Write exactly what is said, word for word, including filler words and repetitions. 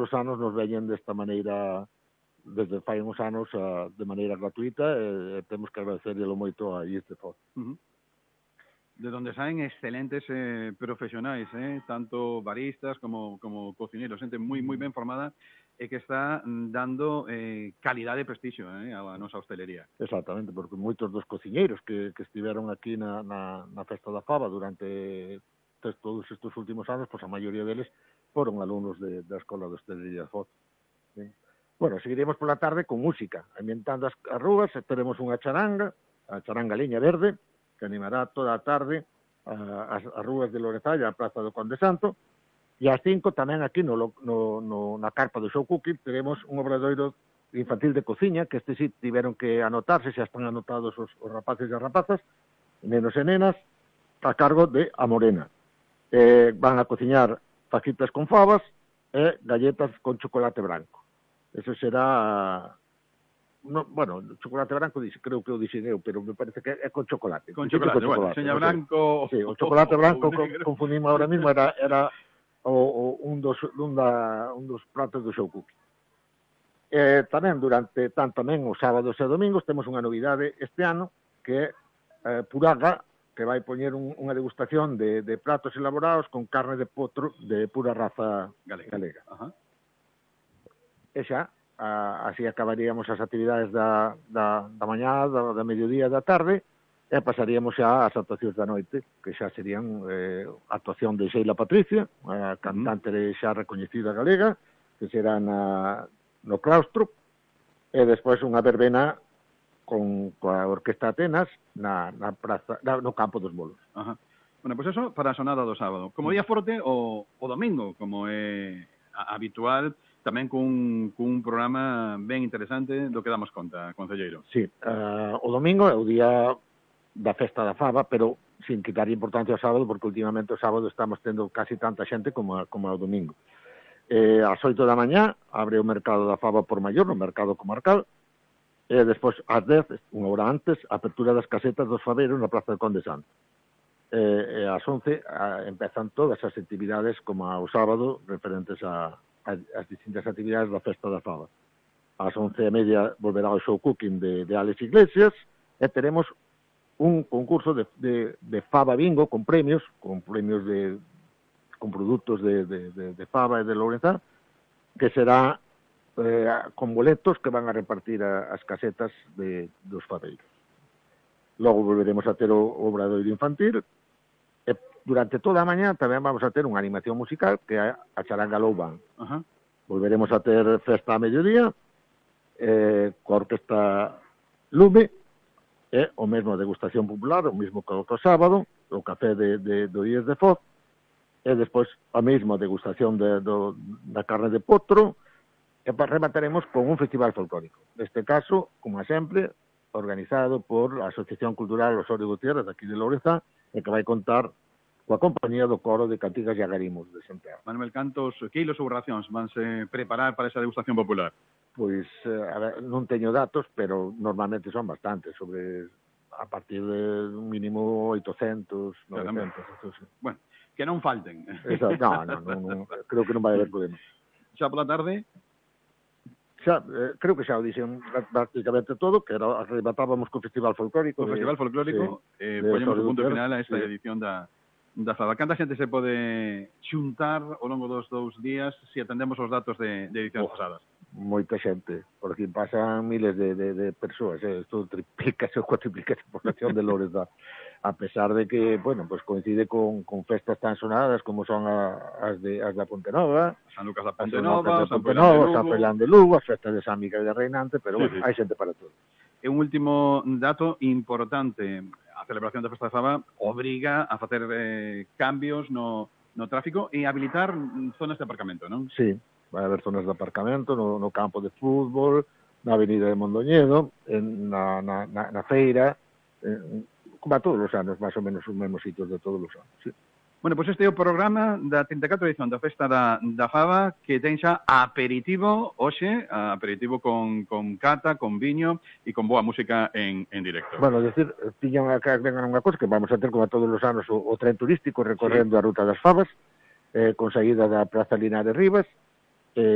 os anos nos veñen desta maneira, desde fai uns anos, uh, de maneira gratuita, e, e temos que agradecerlo moito a este Foz. Uh -huh. De donde saen excelentes eh, profesionais, eh, tanto baristas como, como cocineros, xente moi moi ben formada e que está dando eh, calidade e prestixio eh, a nosa hostelería. Exactamente, porque moitos dos cociñeiros que, que estiveron aquí na, na, na Festa da Fava durante todos estes últimos anos, pois a maioría deles foron alumnos de, da Escola de Hostelería de Foz. ¿Sí? Bueno, seguiremos pola tarde con música, ambientando as, as rúas, teremos unha charanga, a charanga Liña Verde, que animará toda a tarde a, as, as rúas de Lorenzalla, a Praza do Conde Santo, e ás cinco tamén aquí no, no, no, na carpa do Show Cooking teremos un obradoiro infantil de cociña, que este sí tiveron que anotarse, xa están anotados os, os rapaces e as rapazas, nenos e nenas, a cargo de A Morena. Eh, van a cociñar fajitas con fabas e galletas con chocolate branco. Eso será, no, bueno, chocolate branco creo que o dixen eu, pero me parece que é con chocolate. Con chocolate, con chocolate, bueno, seña branco... Sí, o chocolate branco con, confundimos ahora mismo, era, era o, o, un, dos, un, da, un dos pratos do Show Cooking. Eh, tamén, durante, tanto tamén os sábados e domingos, temos unha novidade este ano, que é eh, Puraga, que vai poñer un, unha degustación de, de pratos elaborados con carne de potro de pura raza galega. galega. Ajá. E xa, a, así acabaríamos as actividades da, da, da mañá, da, da mediodía, da tarde, e pasaríamos xa ás actuacións da noite, que xa serían eh, actuación de Sheila Patricia, a cantante mm. xa recoñecida galega, que será na, no claustro, e despois unha verbena con coa Orquesta Atenas na, na praza, na, no campo dos bolos. Ajá. Bueno, pois pues eso para a sonada do sábado. Como día forte, o, o domingo, como é habitual, tamén cun, cun programa ben interesante do que damos conta, concelleiro. Sí, uh, o domingo é o día da Festa da Fava, pero sin quitar importancia ao sábado, porque últimamente o sábado estamos tendo casi tanta xente como, a, como ao domingo. Eh, ás oito da mañá abre o mercado da Fava por Maior, no mercado comarcal, e despois ás dez, unha hora antes, a apertura das casetas dos faveiros na Praza do Conde Santo. E, e ás once a, empezan todas as actividades como ao sábado referentes a as distintas actividades da Festa da Fava. Ás once e media volverá o Show Cooking de, de Alex Iglesias e teremos un concurso de, de, de fava bingo con premios, con premios de con produtos de, de, de, de fava e de Lourenzá, que será eh, con boletos que van a repartir a, as casetas de, dos faveiros. Logo volveremos a ter o, o obradoiro infantil. Durante toda a mañá tamén vamos a ter unha animación musical que é a Charanga Loubán. Uh-huh. Volveremos a ter festa a mediodía, eh, coa Orquesta Lume, e o mesmo degustación popular, o mesmo que o sábado, o café de, de, do I E S de Foz, e despois a mesma degustación de, do, da carne de potro, e remataremos con un festival folclórico. Neste caso, como sempre, organizado por a Asociación Cultural Osorio Gutiérrez, aquí de Lourenzá, e que vai contar coa compañía do coro de Cantigas e Agarimos de Santiago. Manuel, cantos quilos ou racións vanse preparar para esa degustación popular? Pois, a ver, non teño datos, pero normalmente son bastantes, sobre a partir de un mínimo oitocentos, novecentos. Entonces, bueno, que non falten. Exacto, no, no, no, no, creo que non vai haber problema. Xa pola tarde? Xa, eh, creo que xa o dixen prácticamente todo, que era, arrebatábamos co Festival Folclórico. O Festival Folclórico, sí, eh, poñemos o punto final a esta sí. edición da da Fava. Canta xente se pode xuntar ao longo dos dous días se atendemos os datos de, de edicións oh, pasadas? Moita xente, por aquí pasan miles de, de, de persoas, eh? Isto triplica ou cuatriplica a población de Lourenzá, a pesar de que, bueno, pues coincide con, con festas tan sonadas como son a, as, de, as da Ponte Nova, San Lucas da Ponte Nova, San Froilán de Lugo, as festas de San Miguel de Reinante, pero sí, bueno, sí. hai xente para todo. E un último dato importante, a celebración da Festa da Fava obriga a facer eh, cambios no, no tráfico e habilitar zonas de aparcamento, non? Sí, vai haber zonas de aparcamento no, no campo de fútbol, na avenida de Mondoñedo, en, na, na, na, na feira, en, como a todos os anos, máis ou menos os mesmos sitios de todos os anos, sí. Bueno, pois pues este é o programa da treinta e catro edición da Festa da, da Fava, que ten xa aperitivo hoxe, aperitivo con, con cata, con viño e con boa música en, en directo. Bueno, decir, tiñan acá vengan unha cosa que vamos a ter como a todos os anos o, o tren turístico recorrendo sí. a Ruta das Favas, eh, con saída da Praza Linares Rivas,